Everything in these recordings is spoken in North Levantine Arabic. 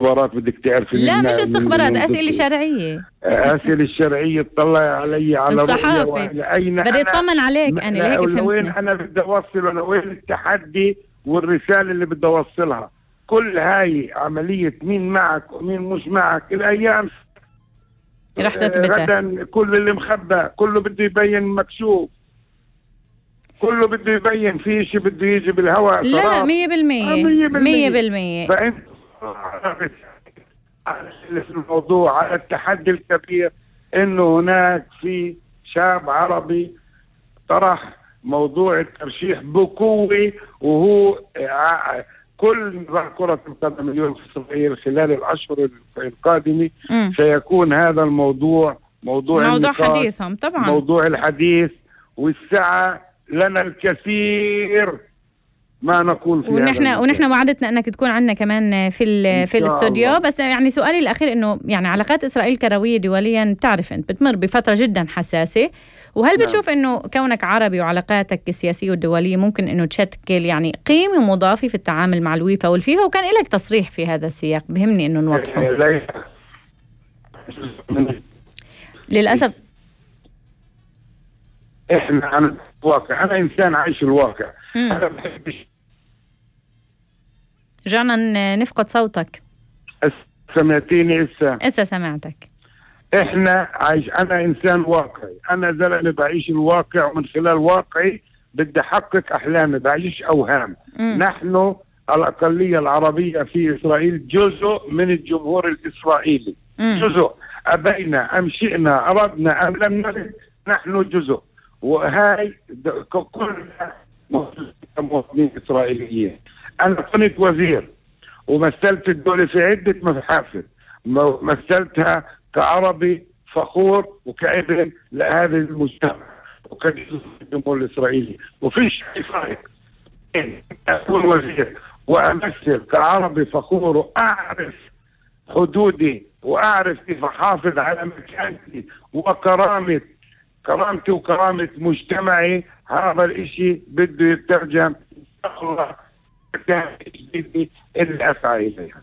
استخبارات بدك تعرفي. لا مش استخبارات، أسئلة شرعية. أسئلة الشرعية تطلع علي على الصحافة بدي اطمن عليك. أنا ليك وين أنا بدي أوصل ولا وين التحدي والرسالة اللي بدي أوصلها. كل هاي عملية مين معك ومين مش معك الأيام رح تثبتها. غدا كل اللي مخبى كله بده يبين مكشوف، كله بده يبين في شيء بده يجي بالهواء. لا 100%. فأنت على الموضوع، على التحدي الكبير إنه هناك في شاب عربي طرح موضوع الترشيح بقوة، وهو كل كرة القدم اليوم في إسرائيل خلال الأشهر القادمة سيكون هذا الموضوع موضوع حديثهم طبعا، موضوع الحديث، والساعة لنا الكثير ما نقول فيه. ونحن وعدتنا انك تكون عندنا كمان في الاستوديو. بس يعني سؤالي الاخير انه يعني علاقات اسرائيل كرويه دوليا بتعرف انت بتمر بفتره جدا حساسه، وهل بتشوف انه كونك عربي وعلاقاتك السياسيه والدوليه ممكن انه تشكل يعني قيمه مضافه في التعامل مع الويفا والفيفا؟ وكان لك تصريح في هذا السياق بهمني انه نوضحه. للاسف احنا عن الواقع، انا انسان عايش الواقع. انا بحبش. رجعنا نفقد صوتك. سمعتيني؟ اسا سمعتك. انا انسان واقعي، انا زلمه بعيش الواقع، ومن خلال واقعي بدي احقق احلامي، بعيش اوهام. نحن الاقليه العربيه في اسرائيل جزء من الجمهور الاسرائيلي. جزء، ابينا ام شئنا، اردنا ام لم نرد، نحن جزء. وهاي كلنا مواطنين إسرائيليين. أنا كنت وزير ومثلت الدولة في عدة محافل، مثلتها كعربي فخور وكابن لهذا المجتمع وكجزء من الجمهور الإسرائيلي. وفيش فرق بين أكون وزير وأمثل كعربي فخور وأعرف حدودي وأعرف كيف أحافظ على مكانتي كرامتي وكرامة مجتمعي. هذا الاشي بده يترجم الله اللي أسعى إليها.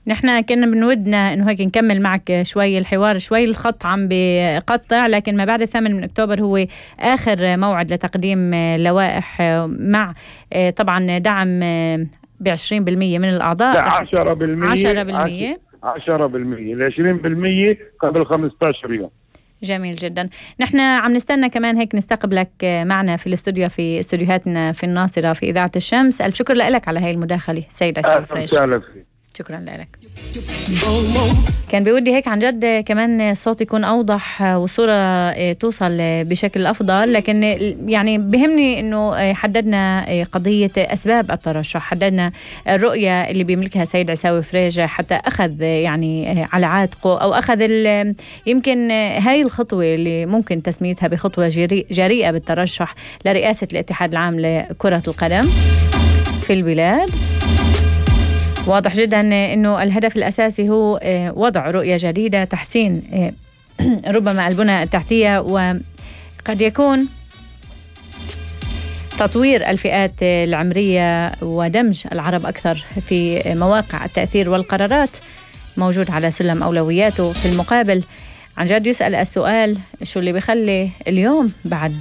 نحن كنا بنودنا انه هيك نكمل معك شوي الحوار، شوي الخط عم بقطع، لكن ما بعد 8 من أكتوبر هو آخر موعد لتقديم لوائح مع طبعا دعم ب20% من الأعضاء. 10%. 20% قبل 15 يوم. جميل جدا. نحن عم نستنى كمان هيك نستقبلك معنا في الاستوديو، في استوديوهاتنا في الناصرة في إذاعة الشمس. الف شكر لك على هاي المداخلة سيد عيساوي فريش. شكرا لك. كان بودي هيك عن جد كمان الصوت يكون أوضح والصورة توصل بشكل أفضل، لكن يعني بهمني أنه حددنا قضية أسباب الترشح، حددنا الرؤية اللي بيملكها سيد عيساوي فريج حتى أخذ يعني على عاتقه أو أخذ يمكن هاي الخطوة اللي ممكن تسميتها بخطوة جريئة بالترشح لرئاسة الاتحاد العام لكرة القدم في البلاد. واضح جدا أنه الهدف الأساسي هو وضع رؤية جديدة، تحسين ربما البنى التحتية، وقد يكون تطوير الفئات العمرية ودمج العرب أكثر في مواقع التأثير والقرارات موجود على سلم أولوياته. في المقابل عن جد يسأل السؤال شو اللي بيخلي اليوم بعد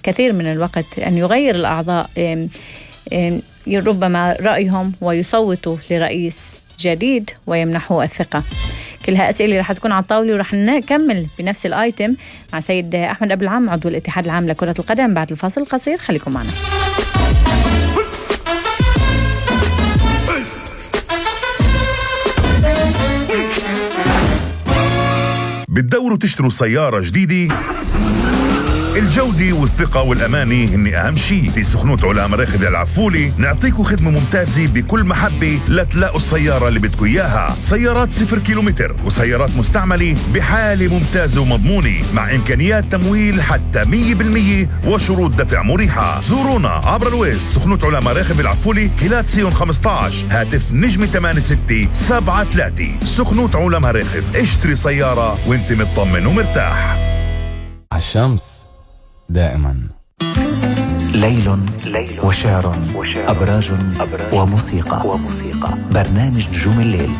كثير من الوقت أن يغير الأعضاء ربما رأيهم ويصوتوا لرئيس جديد ويمنحوا الثقة. كلها أسئلة رح تكون على الطاولة، ورح نكمل بنفس الآيتم مع سيد أحمد أبو العام عضو الاتحاد العام لكرة القدم بعد الفاصل القصير. خليكم معنا. بتدوروا تشتروا سيارة جديدة؟ الجودة والثقة والأمانة هن أهم شيء. في سخنوت علا مراخذ العفولي نعطيكم خدمة ممتازة بكل محبة لتلاقوا السيارة اللي بدكم إياها. سيارات 0 كيلومتر وسيارات مستعملة بحالة ممتازة ومضمونة مع إمكانيات تمويل حتى 100% وشروط دفع مريحة. زورونا عبر الويز سخنوت علا مراخذ العفولي كيلات سيون 15 هاتف نجمة 8673. سخنوت علا مراخذ، اشتري سيارة وانت مطمن ومرتاح. الشمس دائما. ليل وشعر أبراج وموسيقى. برنامج نجوم الليل.